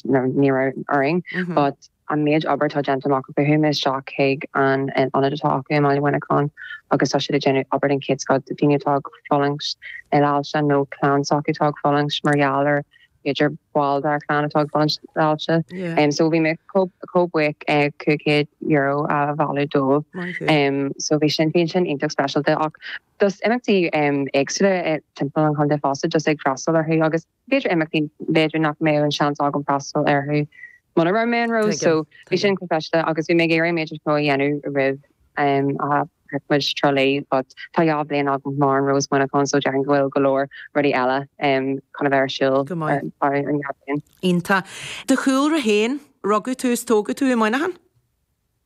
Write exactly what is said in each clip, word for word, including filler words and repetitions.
Ní raibh orainn, but an méid obair atá déanta amach acu, chuaigh mé isteach chuig an ionad atá acu i mBaile Mhuineacháin agus tá siad ag déanamh obair den chéad scoth do daoine atá ag fulaingt le hailse nó clann s'acu atá ag fulaingt mar gheall ar b'fhéidir ball dár clann atá ag fulaingt le hailse. Um, so bhí mé chomh buíoch cúig chéad euro a bhailiú dóibh. Um, so bhí sin bhí sin iontach speisialta ach just imeachtaí um, éagsúla timpeall an chontae fosta, just ag freastal orthu agus b'fhéidir imeachtaí b'fhéidir nach mbeadh an seans agam freastal orthu muna raibh mé in Rós, so bhí sin go speisialta agus bhí mé ag iarraidh méid mó a dhéanamh roimh um, a muid Trá Lí, but tá dhá bhliain agam mar an Rós Mhuineacháin, so déarfainn go bhfuil go leor rudaí eile um, chun a bheith ar siúl Go maith. ar an dhá bhliain. Iontach. Do chúlra féin, rugadh tú is tógadh tú i Muineachán?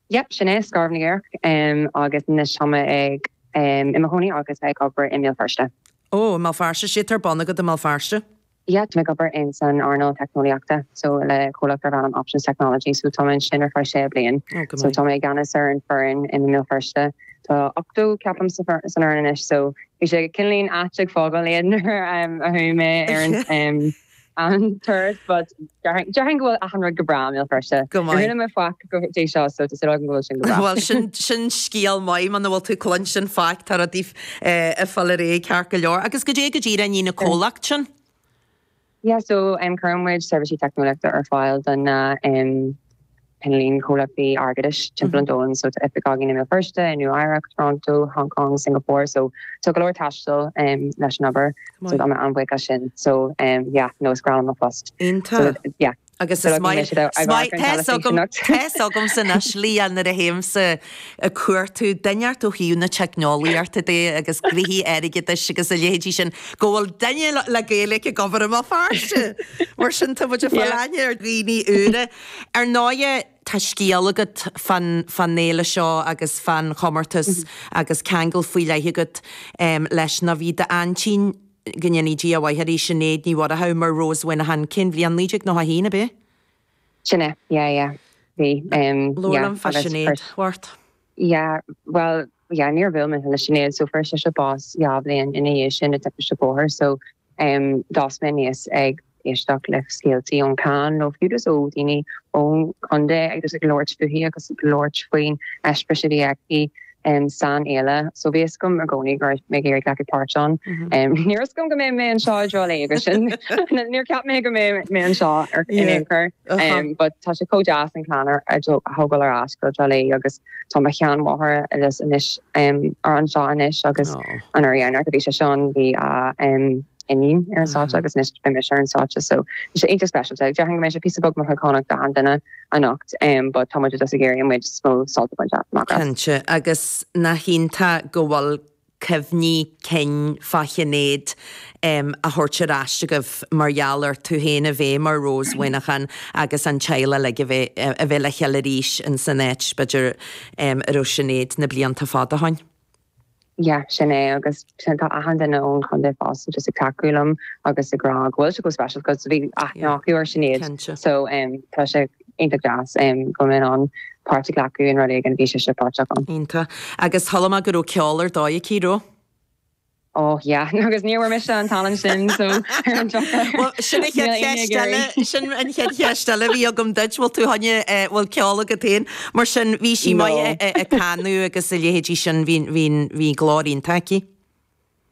Yep, sin é, Scairbh na gCaorach, um, agus anois tá mé ag um, i mo chónaí agus ag obair i mBéal Feirste. Ó, i mBéal Feirste, sé ar bun agat i mBéal Feirste? Yeah, tá mé ag obair in san earnáil teicneolaíochta, so le comhlacht darb ainm Options Technology, so tá mé ansin ar feadh sé bliain. Oh, go So maith. tá mé i gceannas ar an foireann i mBéal Feirste. Tá ochtó ceapaim sa san fhoireann anois, so bhí sé cineál ait ag fágáil iad nuair um, a chuaigh mé ar an um, an turas, but déarfainn go bhfuil achan rud go breá i mBéal Feirste. Go maith. Rinne mé faic go dtí seo, so tá súil agam go bhfuil sin go breá. Well sin sin scéal maith muna bhfuil tú cluinstin faic tá rudaí ag fáil ar aghaidh ceart go leor. Agus goidé go díreach an comhlacht sin? Yeah, so um, cuireann muid seirbhísí teicneolaíochta ar fáil don na um, cineál comhlachtaí airgeadais timpeall an domhain, so tá oifig againn i mBéal Feirste, i Nua-Eabhrac, Toronto, Hong Kong, Singapore, so tá go leor taistil um, leis an obair, so tá mé an-bhuíoch as sin. So um, yeah, no, is breá liom mo phost. Iontach. So, yeah. Agus So is maith Tá agamsa anois Leah nuair a théimse ag cuartú duine ó thaobh na teicneolaíochta de agus gnoithí airgeadais agus a leithéidí sin go bhfuil duine le Gaeilge ag obair i mBéal Feirste. Mar sin tá muid ag fáil aithne ar dhaoine úra. Ar ndóigh tá scéal agat fan fan fhéile seo agus fan chomórtas agus ceangal faoi leith agat um, leis na bhí d'aintín go ndéana Dia a mhaith uirthi, Sinéad Ní Mhurchú mar Rós Mhuineacháin cén bhliain naoi déag nócha haon ab ea? Sin é, yeah, yeah. Bhí um, yeah, Lólam fa agus Sinéad first- Wart. Yeah, well, yeah, níor bhuail mé le Sinéad, so fuair sise bás dhá bhliain ina dhiaidh sin i dtimpiste bóthair, so um, d'fhás mé aníos ag éisteacht le scéaltaí ón clann nó fiú ó daoine ón chontae agus ag labhairt fúithi agus ag labhairt faoin eispéireas a bhí aici um, san fhéile, so bhí a fhios agam i gcónaí go raibh mé ag iarraidh glacadh páirt ann. Um, ní raibh a fhios agam go mbeidh mé anseo i dTrá Lí agus sin níor cheap mé go mbeidh mé anseo ar in Yeah. aon chor. Uh-huh. Um, but tá sé chomh deas an clann a thógáil ar ais go Trá Lí agus tá mo sheanmháthair agus anois um, ar anseo anois agus Oh. an uair dheireanach a bhí sé sean bhí a um, iníon ar an stáitse agus anois beidh mise ar an stáitse, so tá sé iontach speisialta. Déarfainn go mbeidh sé píosa beag mothúchánach do achan duine anocht, um, but tá muid just ag iarraidh muid is mó sult a bhaint amach as. Cinnte agus nach iontach go bhfuil cuimhní cinn fá Shinéad um, a thabhairt ar ais agaibh mar gheall ar tú féin a bheith mar Rós Mhuineacháin agus an teaghlach uilig a bheith a bheith le chéile arís in san áit b'fhéidir um, a raibh Sinéad na blianta fada ó shin. Yeah, sin é agus sin tá achan duine ón chontae fosta just ag tacú liom agus ag rá go bhfuil sé go special cos bhí aithne acu ar Sinéad. Cinnte. So um, tá sé iontach deas um, go mbeidh an páirt a ghlacadh in rud éigin bhí sé sé páirteach ann. Iontach. Agus chuala mé go raibh ceol ar dóigh aici raibh? Oh yeah, agus ní bhfuair mise an talent sin so ar an drochuair. Well, sin an chéad Níl aon cheist ag eile iarraidh. sin an chéad cheist eile bhí agam duit bhfuil tú cheana bhfuil ceol agat féin mar sin bhí sí No. maith ag canadh agus a leithéidí sin bhí bhí bhí glór iontach aici.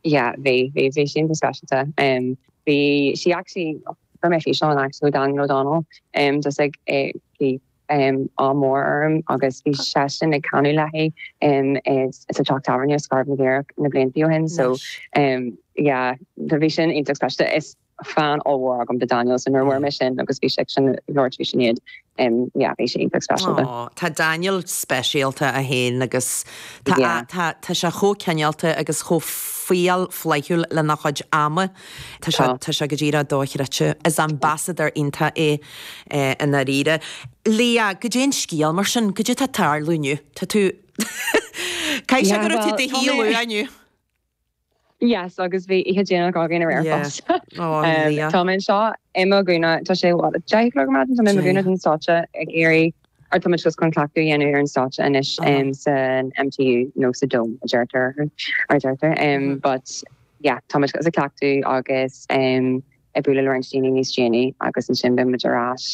Yeah, bhí bhí bhí sin speisialta. Um, bhí sí actually fuair mé físeán actually Daniel O'Donnell um, just ag eh, bhí um, ádh mór orm agus bhí seisean ag canadh léi um, is sa teach tábhairne Scairbh na gCaorach na blianta ó shin so um, yeah, bhí sin iontach speisialta is fan ollmhór agam de Daniel so nuair a fuair mé sin agus bhí sé sin labhairt faoi Sinéad um, yeah, bhí sé iontach speisialta. Oh, tá Daniel speisialta é féin agus tá Yeah. tá tá sé chomh cineálta agus chomh fial flaithiúil lena chuid ama Tá sé Tá. tá sé go díreach dochreidte is ambassador iontach é eh, i ndáiríre. Leah, goidé an scéal mar sin, goidé tá ag tarlú inniu Tá tú Cai sé Yeah, go tú well, de tá híú mé- aniu. Yes, agus bhí oíche déanach againn aréir Yeah. fosta. Oh, Um, Leah. Tá mé anseo i mo gúna tá sé deich a chlog tá mé gúna den stáitse ag iarraidh ar tá just chun cleachtadh a dhéanamh ar an stáitse anois Uh-huh. um, san M T U nó sa Dome a deirtear ar deirtear um, Mhm. but yeah, tá muid ag cleachtadh agus um, ag bualadh le roinnt daoine níos déanaí agus ansin beidh muid ar ais